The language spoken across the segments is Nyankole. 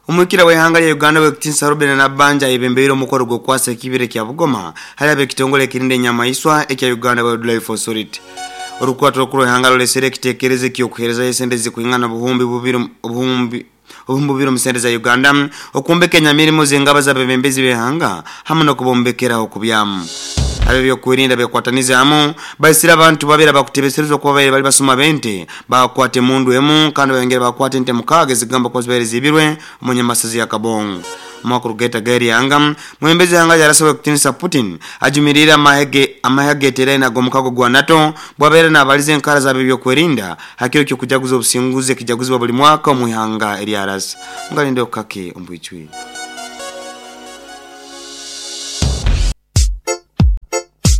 Omwikira w'eihanga rya Uganda Ow'ekitinisa Robinah Nabbanja ayebembeire omukoro gw'okukwasa ekibira ekya Bugoma hari ab'ekitongore ekirinda enyamaiswa ekya Uganda Wildlife Authority. Orukwato orukuru rw'eihanga ruretsire ekitekerezo eky'okuherezayo esente ezirikwingana obuhumbi bubiri obuhumbi bubiri omu sente za Uganda okwombeka enyamirimo z'engaba z'abebembezi b'eihanga hamwe n'okubombekera ah'okubyama. Ab'ebyokwerinda bekwatanize hamwe baitsire abantu babiri abakutebeserezibwa kuba babaire bari basuma b'ente Baakwata emundu emu kandi baayongyera baakwata ente mukaaga ezikugambwa kuba zibaire ziibirwe omu nyamasazi ya Kaabong. Omu kugaita g'eryanga, mwebembezi w'eihanga rya Russia Ow'ekitiinisa Putin ajumiriire amahe ge amahe ageteeraine ag'omukago gwa NATO bwabaire naabariza enkara z'ab'ebyokwerinda aha kiro ky'okujaguza obusinguzi ekijaguzibwa buri mwaka omu ihanga erya Russia. Mugarinde okukake omu bwijwire.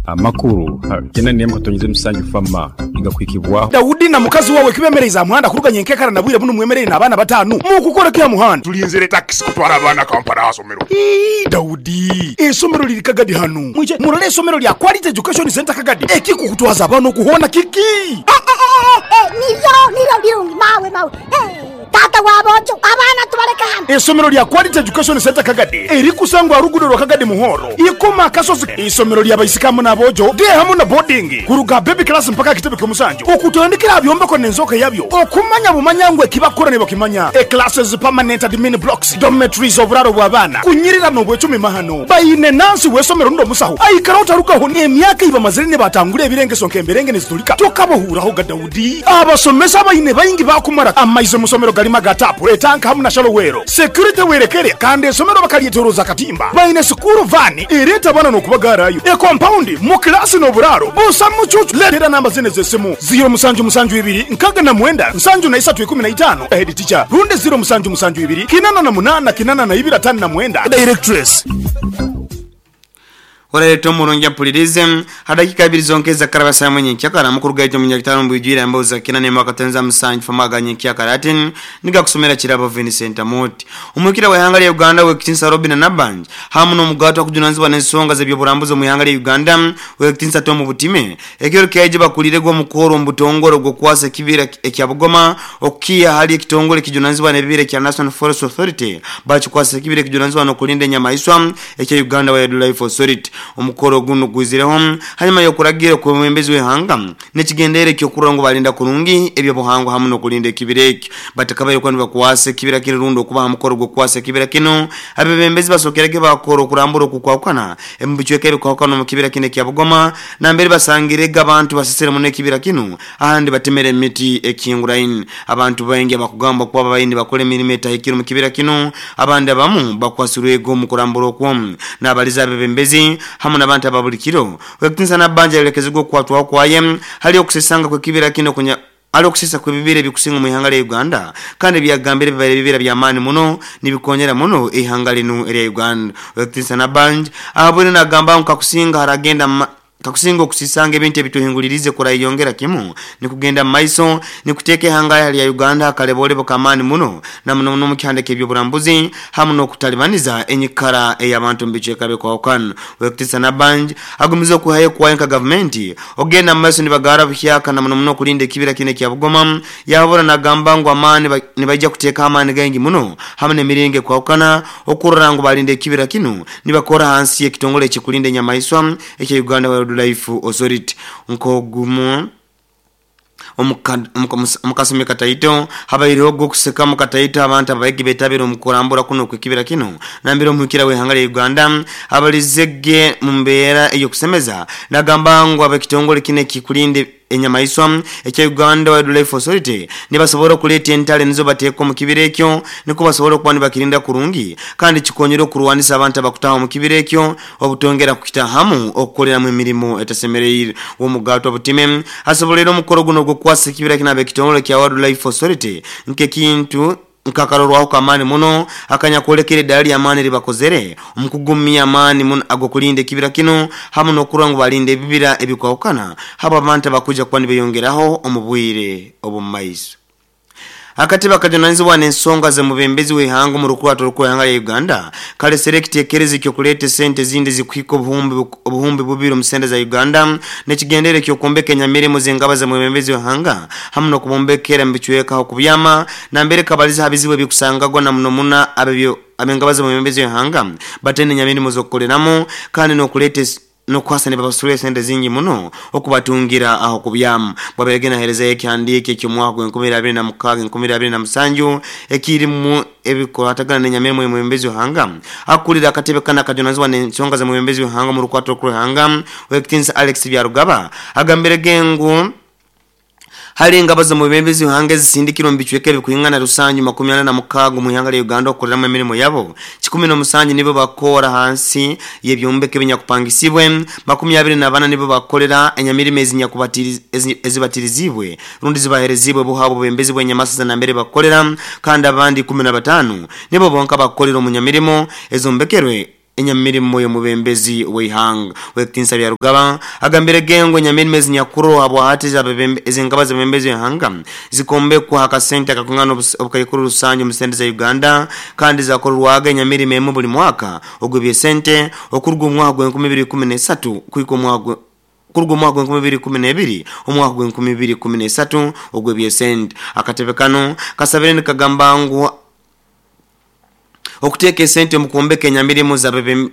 Amakuru gena n'emwe katonyeza emisanju fama nigakuhikibwaho. Daudi na mukazi wawe kibemereize aha muhanda kuruga nyenkekara na bwire bunu mwemereire n'abaana batanu mukukora ki aha muhanda? Tulinzire takisi kutwara abaana Kampala aha somero. Ii, Daudi, eisomero liri Kagadi hanu. Mwije murole eisomero lya Quality Education Centre Kagadi. Ekikukutwaza abaana oku hoona kiki? Eh, eh, eh, eh, niryo, niryo birungi, mawe, mawe. Eh. Taata wa boojo, abaana tubaleke hanu. Eisomero lya Quality Education Centre Kagadi erikusangwa aha ruguudo rwa Kagadi Muhoro, Ikoma Akasozi. Eisomero lya baisiki hamu n'aboojo, day hamu na boarding, kuruga aha baby class mpaka aha kitebe ky'omusanju. Okutandikira aha byombeko n'enzooka yabyo, okumanya bumanya ngu eki bakukora nibakimanya. E Classes, permanent admin blocks, dormitories, oburaaro bw'abaana, kunyirira n'obwecumi mahano. Baine nansi w'eisomero rundi omusaho aikaraho tarugaho. Emyaka ei bamazire nibatangura ebirengeso nk'emberenge niziturika tokabahuuraho ga Daudi. Abasomesa abaine baingi baakumara amaizi omu somero garimu aga taapu, etanka hamu na shalowero. Security werekere kandi esomero bakaryetoroza akatimba. Baine sikuuru vaani ereeta abaana n'okubagaarayo. Ekompaundi mu kilaasi n'oburaaro busa mucuucu. Leetera namba zinu ez'esimu, ziiro musanju musanju ibiri nkaga na mwenda nsanju na isatu 15, Head teacher, rundi ziiro musanju musanju ibiri 88 82 59, Directress. Orareeta omurungi ampuririze. Ha dakiika ibiri zonka ezakaraba saaha emwe nyenkyakara, mukuru gaitu omunyakitara omu bwijwire emboozi za kina n'emwe akatenza musanju famu aga nyenkyakara ati, Nigakusomera Kirabo Vincent Amooti. Omwikira w'eihanga rya Uganda Ow'ekitinisa Robinah Nabbanja hamu n'omugaati akujunanizibwa n'ensonga z'eby'oburambuzi omu ihanga rya Uganda Ow'ekitinisa Tom Butime ekiro kyaija bakuliirege omukoro omu butongore ogw'okukwasa ekibira ekya Bugoma okukiiha ahari ekitongore ekijunanizibwa n'ebibira ekya National Forest Authority bakikwasa ekibira ekijunanizibwa n'okurinda enyamaiswa ekya Uganda Wildlife Authority. Omukoro gunu gwizireho hanyuma y'okuragiira okw'omwebembezi w'eihanga n'ekigendererwa eky'okurora ngu barinda kurungi eby'obuhangwa hamu n'okurinda ekibira ekyo. Batakabaire kuba nibakwasa ekibira kinu rundi okuba ha mukoro gw'okukwasa ekibira kinu, abebembezi basokerege baakora okurambura okukwahukana omu bicweka ebikwahukana omu kibira kinu ekya Bugoma nambere basangirege abantu basisire muno ekibira kinu ahandi batemere emiti ekihinguraine. Abantu baingi abakugambwa kuba babaire nibakora emirimo etahikire omu kibira kinu abandi abamu bakwasirwege omu kurambura okwo n'abaliza abebembezi hamu n'abantu aba buli kiro. Ow'ekitinisa Nabbanja ayolekezibwa okukwatwaho kwaye hali okusesanga kw'ekibira kinu okunya hali okusesa kw'ebibira ebikusinga omu ihanga lya Uganda kandi ebyagambire bibaire bibira by'amaani muno nibikonyera muno eihanga linu erya Uganda. Ow'ekitinisa Nabbanja ahabwire nagamba ngu kakusinga haragenda Kakusinga okusisanga ebintu ebitwehinguliriize kurayeyongera kimu nikugenda mu maiso, nikuteeka ihanga lya Uganda ha kalebolebo k'amaani muno na muno muno omu kihanda eky'ebyoburambuzi hamu n'okutalibaniza enyikara ey'abantu omu bicweka ebikwahukana. Owekitiinisa Nabbanja agumize okwihayo okuwayo nka gavumenti okugenda mu maiso nibagaara buhyaka na muno muno okulinda ekibira kinu ekya Bugoma. Yahabura nagamba ngu amaani nibaija kuteekaho amaani gaingi muno hamu n'emiringo ekwahukana okurora ngu balinda ekibira kinu nibakora hansi y'ekitongole ekikulinda enyamaiswa ekya Uganda Wildlife Authority nk'ogumu omu kasumi kataito. Habaireho ogw'okuseka mu kataito abantu abaigi betabire omu kurambura kunu okw'ekibira kinu nambere omuhikira w'eihanga lya Uganda abalizege mu mbeera ey'okusemeza nagamba ngu ab'ekitongole kinu ekikulinda Enyamaiswa ekya Uganda Wildlife Authority nibasobora okuleeta entale nizo bateeka omu kibira ekyo nikwo basobole okuba nibakirinda kurungi kandi kikonyere okurwanisa abantu abakutaha omu kibira ekyo obutongera kukitahamu okukoleramu emirimo etasemereire. Womugaatwa Butime asoboleire omukoro guno ogwokukwasa ekibira kinu abekitongole kya Wildlife Authority nkekintu Nkakarorwaho k'amaani muno akanyakwolekere edaara ly'amaani eri bakozere omu kugumya amaani muno ag'okulinda ekibira kinu hamu n'okurora ngu balinda ebibira ebikwahukana habw'abantu abakwija kuba nibeyongeraho omu bwire obw'omu maiso. Akatebe akajunanizibwa n'ensonga z'omubembezi w'eihanga omu rukurwato rukuru rw'eihanga rya Uganda karesire ekitekerezo eky'okureeta esente ezindi ezikuhika obuhumbi bubiri omu sente za Uganda n'ekigendererwa eky'okwombeka enyamirimo z'engaba z'omwebembezi w'eihanga hamu n'okubombekera omu bicweka ah'okubyama nambere kabalize aha bizibu ebikusangagwa na muno muno ab'engaba z'omwebembezi w'eihanga bataine nyamirimo z'okukoreramu kandi n'okureeta N'okuhasa nibabasurira esente zingi muno okubatungira ah'okubyama. Bwabaire naherezayo ekihandiiko eky'omwaka gw'enkumi abiri na mukaaga enkumi abiri na musanju ekirimu ebikukwatagana n'enyamirimo y'omwebembezi w'eihanga, akurira akatebe kanu akajunanizibwa n'ensonga z'omwebembezi w'eihanga omu rukwata orukuru rw'eihanga, Ow'ekitinisa Alex Byarugaba agambire ge ngu, Hariho engabo z'omwebembezi w'eihanga ezisindikirwe omu bicweka ebirikwingana rusanju 46 omu ihanga rya Uganda okukoreramu emirimo yabo. 17 nibo bakoora ahansi y'ebyombeko ebinyakupangisibwe, 24 nibo bakukorera enyamirimo ezibatiriziibwe rundi zibahereziibwe bo ahabw'obwebembezi bw'enyamasaza nambere bakukorera kandi abandi 15 nibo bonka bakukorera omu nyamirimo ezombekerwe Enyamirimo y'omubembezi w'eihanga Ow'ekitinisa Byarugaba agambire ge ngu enyamirimo ezinyakuroho habwahati ez'engaba z'abebembezi b'eihanga zikombekwa aha kasente akakwingana obukaikuru rusanju omu sente za Uganda kandi zakorerwaga enyamirimo emwe buri mwaka ogw'eby'esente okuruga omu mwaka gw'enkumi ibiri ikumi n'esatu kuhika omwaka Kuruga omwaka gw'enkumi ibiri ikumi n'ebiri omwaka gw'enkumi ibiri ikumi n'esatu ogw'eby'esente. Akatebe kanu kasabire nikagamba ngu Okuteeka esente omu kwombeka enyamirimo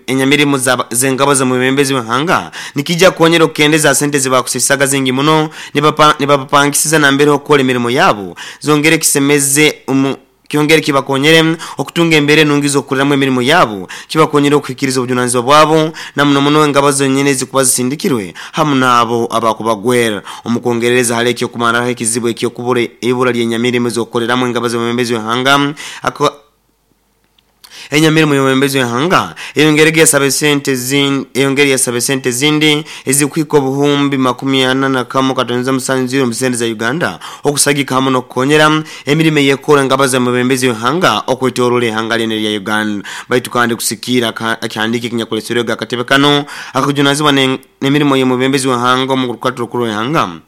enyamirimo z'engabo z'omwebembezi w'ihanga nikiija kukonyera okukendeza ha sente ezibakusiisaga zingi muno nibabapangisiza nambere h'okukora emirimo yabo zongere kisemeze omu kyongere kibakonyere okutunga embeera enungi z'okukoreramu emirimo yabo kibakonyere okuhikiriza obujunanizibwa bwabo na muno muno engabo zonyini ezikuba zisindikirwe hamu n'abo abakubagwera. Omu kwongerereza hali eky'okumarraho ekizibu eky'okubura eibura ly'enyamirimo ez'okukoreramu engabo z'omwebembezi w'ihanga Enyamirimo y'omwebembezi w'eihanga eyongerege yasaba esente eyongere yasaba esente ezindi ezirikuhika obuhumbi 41 katonza musanju ziro omu sente za Uganda okusagika hamu n'okukonyera emirimo ey'ekorwa engabo z'omwebembezi w'eihanga okwetoroora eihanga lyona erya Uganda. Baitu kandi kusikiira ekihandiiko ekinyakureserwege akatebe kanu akakujunanizibwa n'emirimo y'omwebembezi w'eihanga omu rukato rukuru rw'eihanga,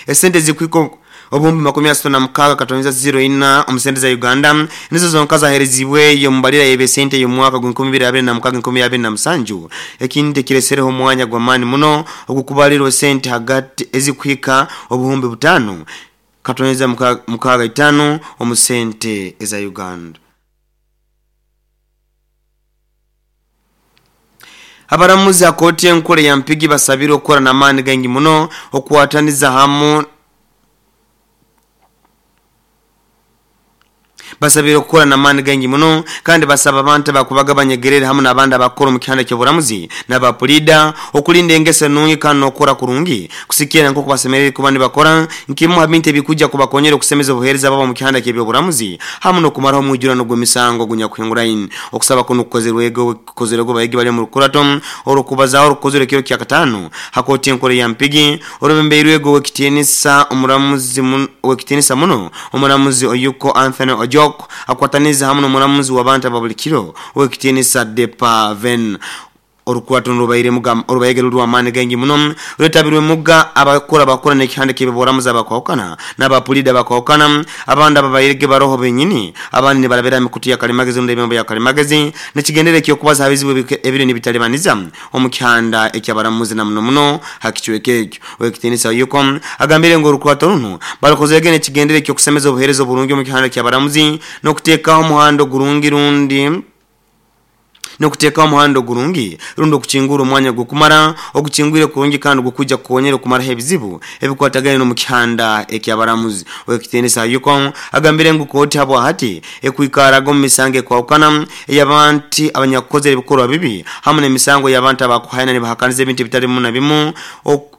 Esente ezirikuhika obuhumbi 36 katonza ziro ina omu sente za Uganda nizo zonka zaherezibweyo omu mbarira y'eby'esente ey'omwaka gw'enkumi ibiri abiri na mukaaga enkumi abiri na musanju, ekintu ekiresereho omwanya gw'amaani muno ogukubarirwa esente hagati ezirikuhika obuhumbi butaano katonza mukaaga itaano omu sente eza Uganda. Abaramuzi ha kooti enkuru eya Mpigi basabirwe okukora n'amaani gaingi muno okukwataniza hamu Basabirwe kukora n'amaani gaingi muno kandi basaba abantu abakubaga banyegerere hamu n'abandi abakukora omu kihanda ky'oburamuzi n'aba puliida okulinda engeso enungi kandi n'okukora kurungi kusikiira nk'oku basemeriire kuba nibakora nkimu ha bintu ebikwija kubakonyera okusemeza obuheereza bwabo omu kihanda ky'eby'oburamuzi hamu n'okumaraho omwijurano gw'emisango ogunyakuhinguraine. Okusaba kunu kukozerwege abayegi bali omu rukurato orw'okubazaaho orukukozerwa ekiro kyakataano ha kooti enkuru eya Mpigi orwebembeirwege ow'ekitiinisa omuramuzi ow'ekitiinisa muno omuramuzi Oyuko Anthony Ojok akwataniize hamu n'omuramuzi w'abantu aba buli kiro ow'ekitiinisa Depa Ven. Orukurato nirubaire orubaire ruri rw'amaani gaingi muno, rwetabirwemuga abakora bakora n'ekihanda ky'eby'oburambuzi abakwahukana n'abapuliida abakwahukana, abandi ababairege baroho benyini, abandi nibarabira aha mikutu ya kalimagezi rundi ebyombo bya kalimagezi n'ekigendererwa eky'okubaza aha bizibu ebiriyo nibitalibaniza omu kihanda eky'abaramuzi na muno muno ha kicweka ekyo. Ow'ekitiinisa Oyuko agambire ngu orukurato runu barukozerege n'ekigendererwa eky'okusemeza obuheereza oburungi omu kihanda ky'abaramuzi n'okuteekaho omuhanda ogurungi rundi N'okuteekaho omuhanda ogurungi rundi okukingura omwanya gw'okumara ogukingwire kurungi kandi ogukwija kukonyera okumaraho ebizibu ebikwatagaine n'omu kihanda eky'abaramuzi. Ow'ekitiinisa Ayuko agambire ngu kooti habwahati ekwikaraga omu misango ekwahukana ey'abanti abanyakukozere ebikorwa bibi hamu n'emisango y'abantu abakuhaina nibahakaniza ebintu ebitali bimu na bimu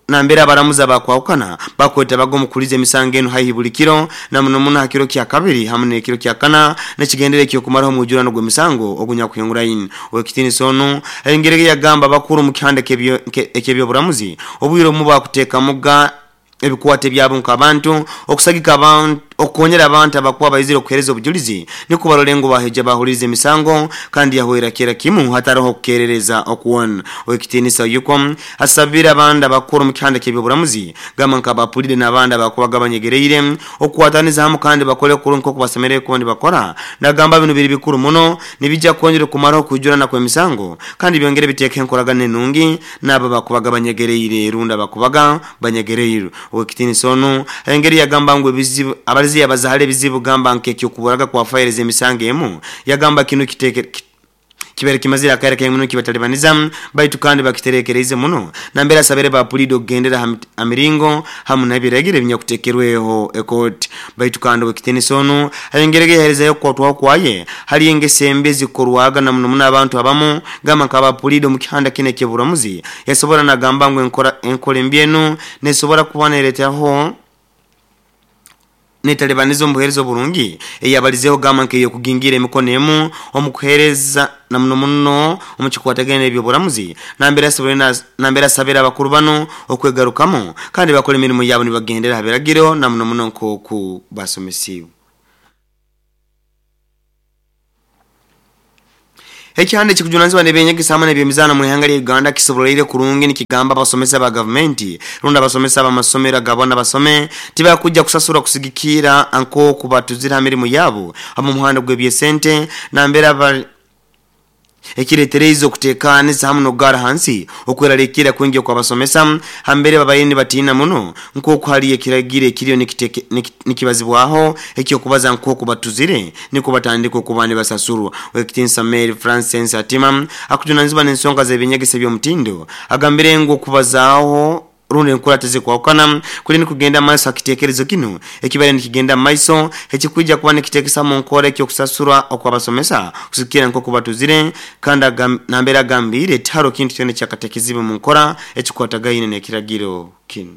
Nambere abaramuzi abakwahukana bakwetabaga omu kuhuliza emisango enu haihi buli kiro, na muno muno ha kiro kyakabiri hamu n'ekiro kyakana, n'ekigendererwa eky'okumaraho omwijurano gw'emisango ogunyakuhinguraine. Ow'ekitiinisa onu ayongireho yagamba, Abakuru omu kihanda eky'eby'oburamuzi obwire obumu bakuteekamuga ebikwate byabo nk'abantu okusagika abantu. Okukonyera abantu abakuba baizire okuhereza obujulizi nikwo barole ngu baheja bahuliriza emisango kandi yahwera kera kimu hataroho okukerereza okwona. Owekitinisa Oyuko asabire abandi abakuru omu kihanda ky'ebyoburamuzi gamba nka abapulide n'abandi abakubaga banyegereire okukwataniza hamu kandi bakole kurungi nkoku basemereire kuba nibakora. Nagamba binu biri bikuru muno nibija kwongera okumaraho okwijurana kw'emisango kandi byongere biteekeho enkoragana enungi n'abo abakubaga banyegereire rundi abakubaga banyegereirwe. Ow'ekitiinisa onu ayongera yagamba ngu ebizibu abalize yabaza hali ebizibu gamba nk'eky'okuburaga kwa fayiro z'emisango emu yagamba kinu kibaire kimazire akaire kaingi muno nikibatalibaniza baitu kandi bakiterekereize muno nambere asabire ba puliida okugendera ha miringo hamu n'ebiragiro ebinyakutekerweho ekooti. Baitu kandi ow'ekitiinisa onu ayongerege yaherezayo okukwatwaho kwaye hali engeso embi ezikorwaga na muno muno abantu abamu gamba nk'aba puliida omu kihanda kinu eky'oburamuzi yasobora nagamba ngu enkora embi enu Nesobora kuba neretaho netalibaniza omu buheereza oburungi eyabalizeeho gamba nk'ey'okugingira emikono emu omu kuheereza na muno muno omu kikwatagaine n'eby'oburamuzi nambere asabire abakuru banu okwegarukamu kandi bakole emirimo yabo nibagendera ha biragiro na muno muno nk'oku basomesiibwe. Ekihanda ekikujunanizibwa n'eby'enyegesa hamu n'eby'emizaano omu ihanga lya Uganda kisoboleire kurungi nikigamba abasomesa ba gavumenti rundi abasomesa ab'amasomero aga bona basome tibakujja kusasurwa kusigikiira nk'oku batuzire ha mirimu yaabu omu muhanda gw'eby'esente nambere abali Ekiretereize okuteekaaniza hamu n'okugaara hansi okweraliikirira kwingi okw'abasomesa hambere babaire nibatiina muno nk'oku haliyo ekiragiro ekiriyo nikibazibwaho eky'okubaza nk'oku batuzire nikwo batandika okuba nibasasurwa. Ow'ekitiinisa Mary Frances Atima akujunanizibwa n'ensonga z'eby'enyegesa eby'omutindo agambire ngu okubazaaho rundi enkura tizikwahukana kuli nikugenda mu maiso ha kitekerezo kinu ekibaire nikigenda mu maiso ekikwija kuba nikitekesa mu nkora eky'okusasurwa okw'abasomesa kusigikira nk'oku batuzire kandi nambere agambiire tiharo kintu kyona ekyakatekiziibwe mu nkora ekikwatagaine n'ekiragiro kinu.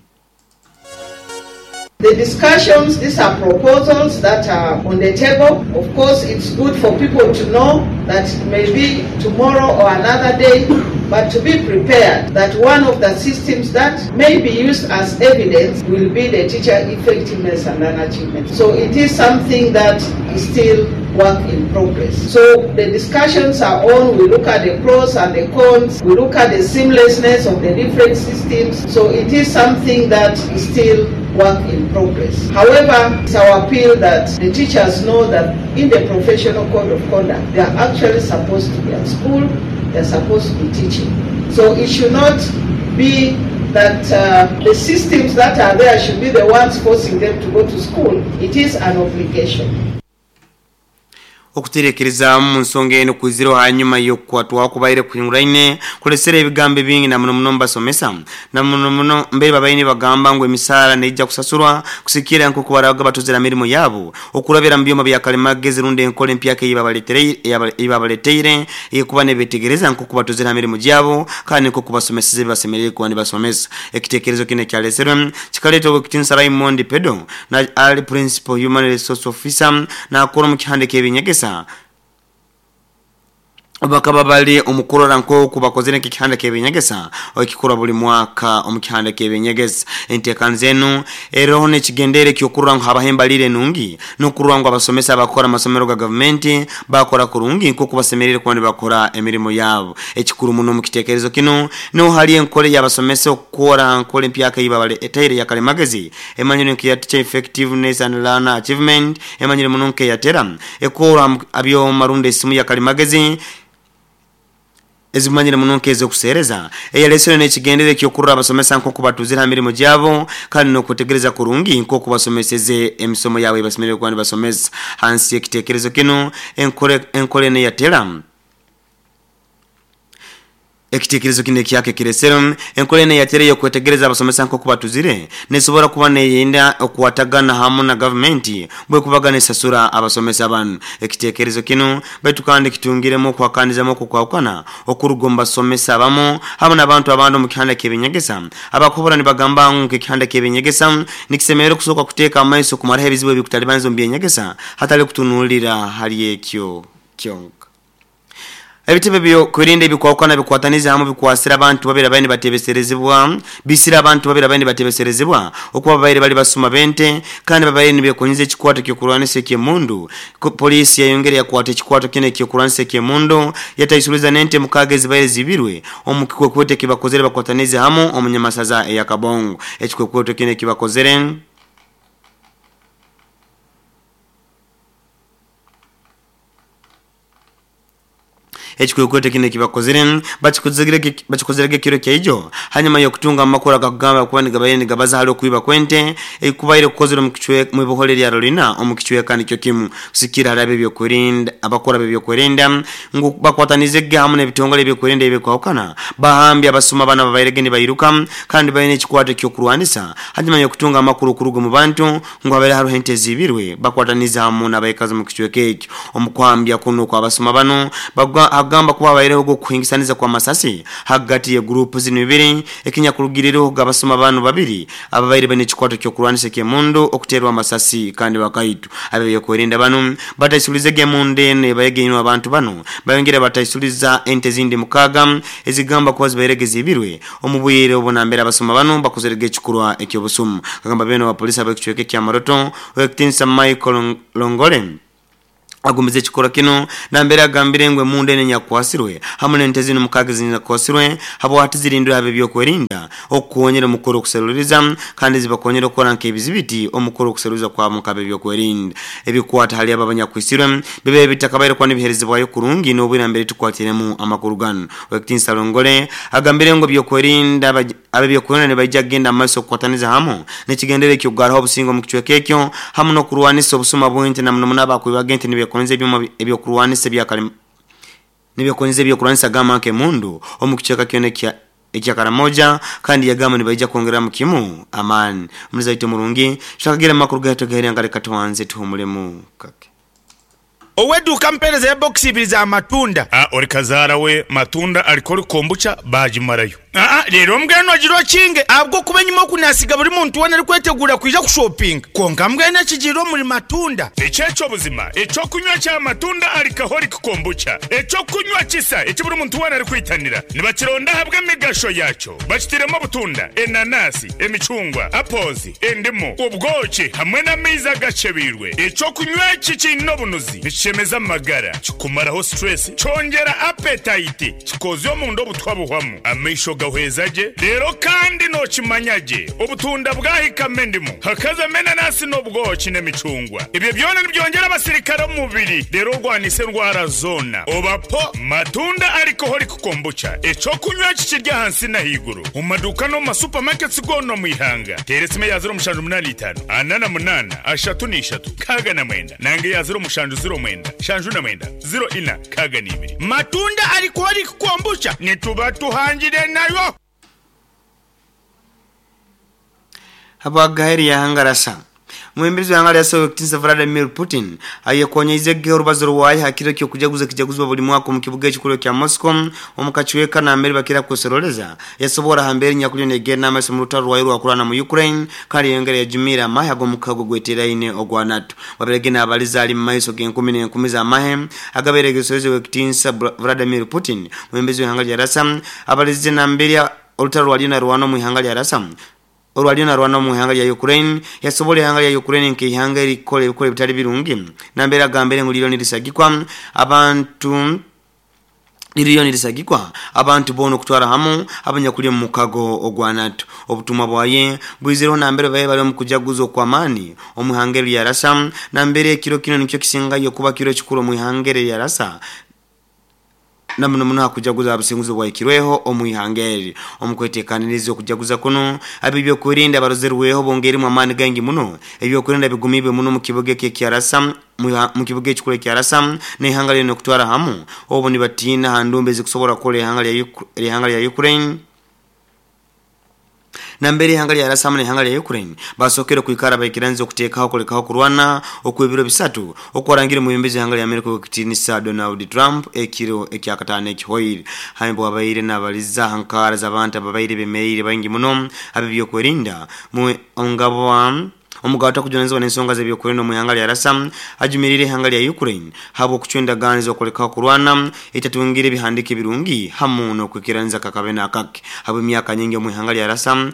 The discussions, these are proposals that are on the table. Of course, it's good for people to know that maybe tomorrow or another day, but to be prepared that one of the systems that may be used as evidence will be the teacher effectiveness and achievement. So it is something that is still work in progress. So the discussions are on, we look at the pros and the cons, we look at the seamlessness of the different systems. So it is something that is still work in progress. However, it's our appeal that the teachers know that in the professional code of conduct, they are actually supposed to be at school, they're supposed to be teaching. So it should not be that uh, the systems that are there should be the ones forcing them to go to school. It is an obligation. Okuterekerezaamu mu nsonga eno kwizireho hanyuma y'okukwatwaho okubaire kuhinguraine kulesere ebigambo ebingi na muno muno mubasomesa na muno muno mbere babaire nibagamba ngu emisaara neija kusasurwa kusigikirra nkoku barabaga batuzire ha mirimo yaabu okurabira mu byoma bya kalimagezi rundi enkora empyaka eyibabaletaire ey'okuba nebetegereza nkoku batuzire ha mirimo gyabo kandi nkoku basomeseze ebibasemeriire kuba nibasomesa. Ekitekerezo kinu ekyaleserwe kikaleetwa Owekitinisa Raymond Pedo na ali Principal Human Resource Officer nakora omu kihanda eky'eby'enyegesa bakaba bali omu kurora nk'oku bakozere nk'ekihanda ky'eby'enyegesa ekikorwa buli mwaka omu kihanda ky'eby'enyegesa. Enteekaniza enu eroho n'ekigendererwa eky'okurora ngu habaho embalirra enungi n'okurora ngu abasomesa abakukora omu masomero ga gavumenti bakora kurungi nk'oku basemeriire kuba nibakora emirimo yabo. Ekikuru muno omu kitekerezo kinu nuho hali enkora ey'abasomesa okukora ha nkora empyaka ei babaletaire eya kalimagezi emanyirwe nk'eya Teacher Effectiveness and Learner Achievement emanyirwe muno nk'eya TELA ekorwa ha byoma rundi esimu ya kalimagezi ezimanyire muno nk'ez'okuseereza eyalesirwe n'ekigendererwa eky'okurora abasomesa nk'oku batuzire ha mirimo gyabo kandi n'okwetegereza kurungi nk'oku basomeseze emisomo yabo ei basemeriire kuba nibasomesa. Hansi y'ekitekerezo kinu, enkora enu eya TELA, Ekitekerezo kinu ekyaka ekiresere enkora enu eyatera ey'okwetegereza abasomesa nk'oku batuzire nesobora kuba neyenda okukwatagana hamu na gavumenti bwekubaga nesasura abasomesa banu. Ekitekerezo kinu baitu kandi kitungiremu okuhakanizamu okukwahukana okuruga omu basomesa abamu hamu n'abantu abandi omu kihanda ky'ebinyegesa abakuhobora nibagamba ngu nk'ekihanda ky'ebinyegesa nikisemerra okusooka kuteeka amaiso kumaraho ebizibu ebikutalibaniza omu by'enyegesa hatali kutunuulira hali ekyo kyonka. Ebitebe by'okwerinda ebikwahukana bikwatanize hamwe bikwasire abantu babiri ababaire nibatebeserezibwa bisire abantu babiri ababaire nibatebeserezibwa okuba babaire bari basuma b'ente kandi babaire nibekonyiza ekikwato ky'okurwanisa eky'emundu. Poliisi yayongera yakwata ekikwato kinu eky'okurwanisa eky'emundu yataisuriza n'ente mukaaga ezibaire zibirwe omu kikwekweto ekibakozere bakwatanize hamu omu nyamasaza eya Kabongo. Ekikwekweto kinu ekibakozere. Ekikwekweto kinu ekibakozire, bakikozirege ekiro kyaijo hanyuma y'okutunga amakuru agakugamba kuba nigabaire nigabaza hali okwiba kw'ente ekubaire kukozirwe mu iboholo erya Rolina omu kicweka nikyo kimu. Kusikira hali ab'ebyokwerinda abakuru ab'ebyokwerinda ngu bakwatanize ge hamu n'ebitongole ebyokwerinda ebikwahukana bahambye abasuma banu ababairege nibairuka kandi baine ekikwato eky'okurwanisa hanyuma y'okutunga amakuru kuruga omu bantu Ngu habaire haroho ente eziibirwe, bakwataniize hamu n'abaikazi omu kicweka ekyo. Omu kuhambya kunu okw'abasuma banu, bagamba kuba habaireho ogw'okuhingisaniza kw'amasasi hagati y'eguruupu zinu ibiri, ekinyakurugiriireho abasuma banu babiri ababaire baine ekikwato ky'okurwanisa eky'emundu okuteerwa amasasi kandi bakaitwa. Ab'ebyokwerinda banu bataisuliizege emundu enu ebaire einwe abantu banu, bayongera bataisuliza ente ezindi mukaaga ezigamba kuba zibairege ziibirwe. Omu bwire obu nambere abasuma banu bakozerege ekikorwa eky'obusumu, akagamba beene owa polisi ab'ekicweka ekya Moroto, Ow'ekitinisa Michael Longole agumize ekikorwa kinu nambere agambire ngu emundu enu enyakukwasirwe hamu n'ente zinu mukaaga ezinyakukwasirwe habwahati zirindwe ab'ebyokwerinda okukonyera omu kukora okuseruliriza kandi zibakonyere okukora nk'ebizibiti omu kukora okuseruliriza kwabo nk'ab'ebyokwerinda. Ebikukwata hali abo abanyakwisirwe bibaire bitakabaire kuba nibiherezebwayo kurungi n'obwire nambere tukwatiremu amakuru ganu. Ow'ekitinisa Longole agambire ngu ebyokwerinda ab'ebyokwerinda nibaija kugenda mu maiso kukwataniza hamu n'ekigendererwa eky'okugarraho obusinge omu kicweka ekyo hamu n'okurwanisa obusuma bw'ente na muno muno abakwibaga ente nibekoneza ebyoma eby'okurwanisa ebya nibekoneza eby'okurwanisa gamba nk'emundu omu kicweka kyona ekya ekya Karamoja kandi yagamba nibaija kwongereramu kimu amaani. Omulizi waitu omurungi, twakagira amakuru gaitu agaheerire nka leka tubanze tuhumulemu kake. Ow'eduuka ampeereza ebokisi ibiri za matunda. A Ori kazaara we matunda arikori kombucha baagimarayo. Aa Reero mbwenu ogire okinge ahabw'okuba enyima oku naasiga buri muntu weena arikweteguura kwija kushopinga. Kwonka mbwenu ekigiire omuri matunda. Eki eky'obuzima, eky'okunywa kya matunda alcoholic kombucha, eky'okunywa kisa eki buri muntu weena arikwitanira. Nibakironda ahabw'emigasho yaakyo. Bakitairemu obutunda, enanasi, emicungwa, apples, endimu, obwoki hamwe n'amaizi agakyebeirwe. Eky'okunywa eki kiine obunuzi, nikishemeza amagara, kikumaraho stress, kyongyera appetite, kikozya omunda obutwa buhwamu, amaisho gahweza gye, reero kandi nookimanya gye obutunda bwahikamu endimu, hakazamu enanasi n'obwoki n'emicungwa. Ebyo byona nibyongyera abasirikare omu mubiri reero orwanise endwara zoona. Oba po matunda alcoholic Kombucha, eky'okunywa eki kiri ahansi n'ahaiguru omu maduuka n'omu ma supermarkets goona omu ihanga. Teera esimu eya 0785 48 33 69 nanga eya 0709 79 04 62. Matunda Alcoholic Kombucha nituba tuhangire nayo. Habwa Gaheria Hangarasa. Omwebembezi w'eihanga rya Russia Ow'ekitinisa Vladimir Putin ayekonyeire ge orubazo rwaye aha kiro ky'okujaguza ekijaguzibwa buri mwaka omu kibuga ekikuru ekya Moscow omu kacweka nambere bakira kwesororeza. Yasoboora aha mbeera enyakuriyo negenda amaiso omu rutaro rwayo orwakurwana mu Ukraine kandi yayongera yajumiira amahe ag'omukago ogweteraine ogwa NATO. Bwabaire ge nabaliza ari mumaiso g'enkumi n'enkumi z'amahe agabaire gesoreze Ow'ekitinisa Vladimir Putin omwebembezi w'eihanga rya Russia abalize nambere orutaro rwariyo narwana omu ihanga rya Russia orwariyo narwana omu ihanga rya Ukraine, yasobola ihanga rya Ukraine nk'eihanga erikukora ebikora ebitari birungi nambere agambire ngu ririyo nirisagikwa abantu ririyo nirisagikwa abantu boona okutwara hamu abanyakuri omu mukago ogwa NATO. Obutumwa bwaye bwizireho nambere babaire bari omu kujaguza okw'amaani omu ihanga eri rya Russia nambere ekiro kinu nikyo kisingayo kuba kiro kikuru omu ihanga eri erya Russia na muno muno aha kujaguza aha businguzi obwahikirweho omu ihanga eri. Omu kwetekaniriza okujaguza kunu, ab'ebyokwerinda barozerweho bongeiremu amaani gaingi muno. Ebyokwerinda bigumiibwe muno omu kibuga eki ekya Rasa, mu kibuga ekikuru ekya Rasa n'eihanga lyona okutwara hamu, obu nibatiina aha ndumba ezikusobora kukora eihanga lya Ukraine. Nambere ihanga lya Russia hamu n'ihanga lya Ukraine basokeire kwikara baikiraniza okutekaho kulekaho kurwana okw'ebiro bisatu okwarangire omwebembezi w'ihanga lya America ow'ekitinisa Donald Trump ekiro ekyakataano ekihoire. Hanyuma bwabaire nabaliza aha nkaara z'abantu ababaire bemereire baingi muno ab'ebyokwerinda mu ngabo. Omugabo atakujunanizibwa n'ensonga z'ebyokwerinda omu ihanga lya Rasa ajumirire ihanga lya Ukraine habw'okucwa endagaano ez'okulekaho kurwana etatungire ebihandiiko ebirungi hamu n'okwikiraniza kakabe n'akake. Habw'emyaka nyingi omu ihanga lya Rasa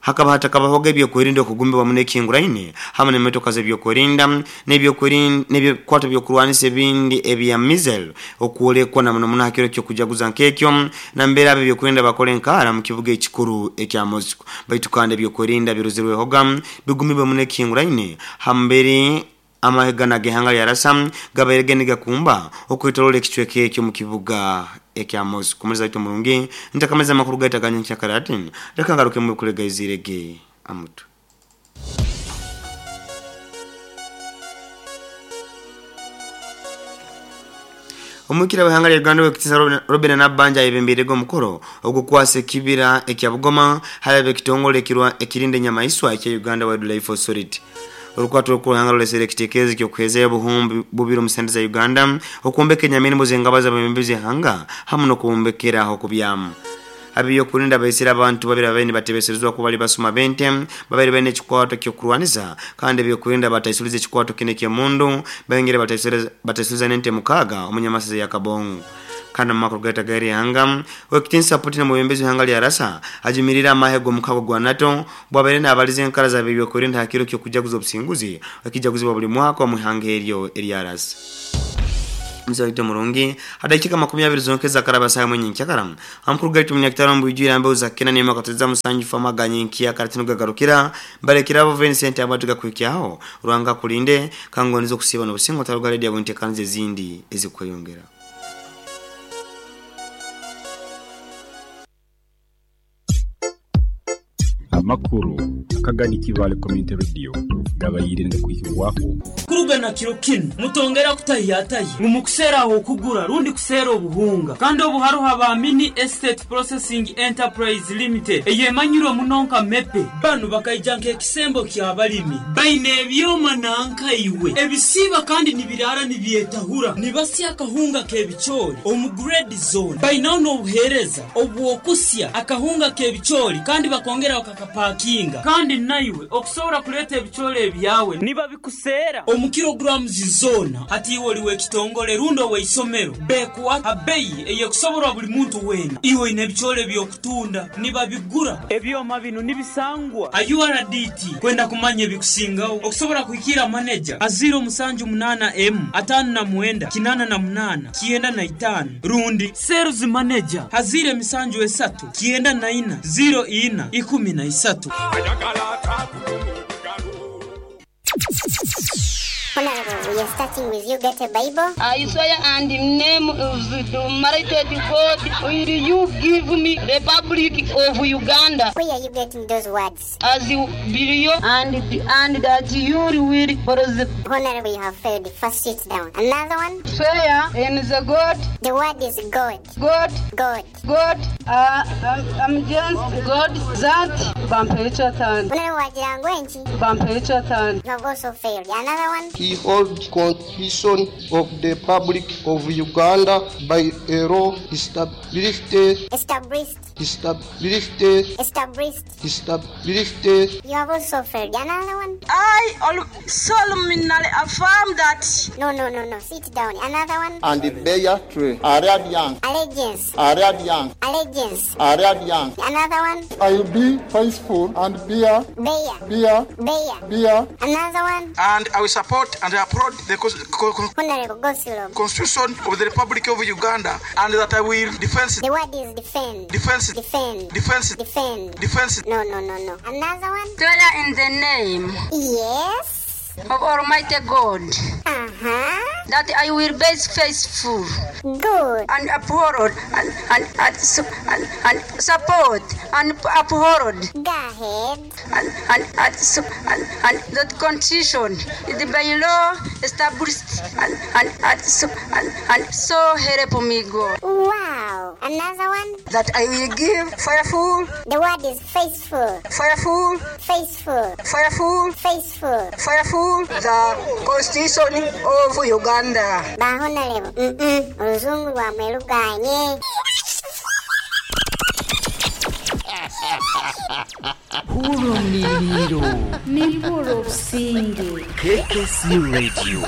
hakaba hatakabahoga ebyokwerinda okugumbibwa muno ekihinguraine hamu n'emotoka z'ebyokwerinda n'ebikwato by'okurwanisa ebindi ebya missile okwolekwa na muno muno ha kiro ky'okujaguza nk'ekyo nambere ab'ebyokwerinda bakora enkaara mu kibuga ekikuru ekya Moscow. Baitu kandi ebyokwerinda birozerwehoga bigumibwe muno ekihinguraine ha mubiri amahe ganu ag'ihanga lya Rasa gabaire ge nigakumba okwetoroora ekicweka ekyo omu kibuga ekya Moscow. Omulizi waitu omurungi, ntakamaize amakuru gaitu aga nyenkyakare ati, Leka ngarukemu ebikulega iziire ge amutwe. Omwikira w'eihanga lya Uganda Owekitiinisa Robinah Nabbanja ayebembeirege omukoro ogw'okukwasa ekibira ekya Bugoma hali ab'ekitongole ekirinda enyamaiswa ekya Uganda Wildlife Authority. Orukwato orukuru Ruhanga ruretsire ekitekerezo eky'okuheezayo obuhumbi bubiri omu sente za Uganda okwombeka enyamirimbo z'engabo z'abebembezi b'eihanga hamu n'okubombekera ah'okubyama. Ab'ebyokwerinda baitsire abantu babiri ababaire nibatebeserezibwa kuba bari basuma b'ente babaire baine ekikwato ky'okurwanisa kandi ebyokwerinda bataisuliza ekikwato kinu eky'emundu baingira bataisuliza n'ente mukaaga omu nyamasaza ya Kabongo. Kandi omu makuru gaitu ag'eihanga, Ow'ekitinisa Putin omwebembezi w'eihanga lya Rasa ajumiriire amahe g'omukago gwa NATO bw'abaire naabariza enkara z'ab'ebyokwerinda aha kiro ky'okujaguza obusinguzi ekijaguzibwa buri mwaka omu ihanga eryo erya Rasa. Omuzaire waitu omurungi, ha dakiika 20 zonka ezakaraba saaha emwe nyenkyakara, amakuru gaitu munyakitara omu bwijwire aha mbeho za kina n'emwe akatonyeza musanju famu aga nyenkyakara tinugagarukira. Mbarekire abo Vincent abu atugakuhikyaho. Ruhanga akurinde, kangondeze okusiiba n'obusinge otaruga redi ahabw'enteekaniza ezindi ezirikweyongera. Amakuru akagani Kibaale Community Radio gabaire nigakwihibwaho. Kuruga na kiro kinu, mutongera kutahiyatahya ngu mukuseera ah'okugura rundi kuseera obuhunga. Kandi obu haroho aba Mini Estate Processing Enterprise Limited eyemanyirwe muno nka MEPE. Banu bakaija nk'ekisembo ky'abalimi. Baine ebyoma nanka iwe ebisiiba kandi nibiraara nibyetahura. Nibasya akahunga k'ebicoori omu grade zoona. Bainaho n'obuheereza obw'okusya akahunga k'ebicoori kandi bakongera bakakapakinga. Kandi naiwe okusobora kuleeta ebicoori ebyawe nibabikuseera omu kilograms zoona. Hati iwe oli w'ekitongole rundi ow'eisomero, beekuha ha beyi ey'ekusoborwa buli muntu weena. Iwe oine ebicoori eby'okutunda, nibabigura. Ebyoma binu nibisangwa ha URDT. Kwenda kumanya ebikusingaho, okusobora kuhikiira maneja ha 078 emu 59 88 95 rundi Sales Manager ha 073 94 04 13. Honourable, we are starting with you, get a Bible. I swear and name of the Almighty God, will you give me Republic of Uganda. Where are you getting those words? As billion and and that you will Honourable, you have failed. First sit down. Another one? Swear in the God. The word is God. God. God. God. I'm just God that Bamperekyatani. Honourable, wagira ngu enki? Bamperekyatani. You have also failed. Another one? He hold Constitution of the Republic of Uganda by a law established. Established. Established. Established. Established. You have also failed. Another one? I solemnly affirm that. No, no, no, no. Sit down. Another one? And bear true allegiance. Allegiance. Allegiance. Allegiance. Allegiance. Another one? I will be faithful and bear. Bear. Bear. Bear. Bear. Another one? And I will support and applaud the Honorable Gosilov. Constitution of the Republic of Uganda, and that I will defend. The word is defend. Defense. Defend. Defense. Defend. Defense. No, no, no, no. Another one? Swear in the name. Yes. Of Almighty God. Uh-huh. That I will be faithful. Good. And uphold and support and uphold. Go ahead. And the Constitution is by law established and so help me God. Wow. Another one? That I will give faithful. The word is faithful. Faithful. Faithful. Faithful. Faithful. Faithful. The Constitution of Uganda. Ba Honorable. Oluzungu lwamwe luganye. Nimpurira omuriiriro. Nimpurira obusinge. KKC Radio.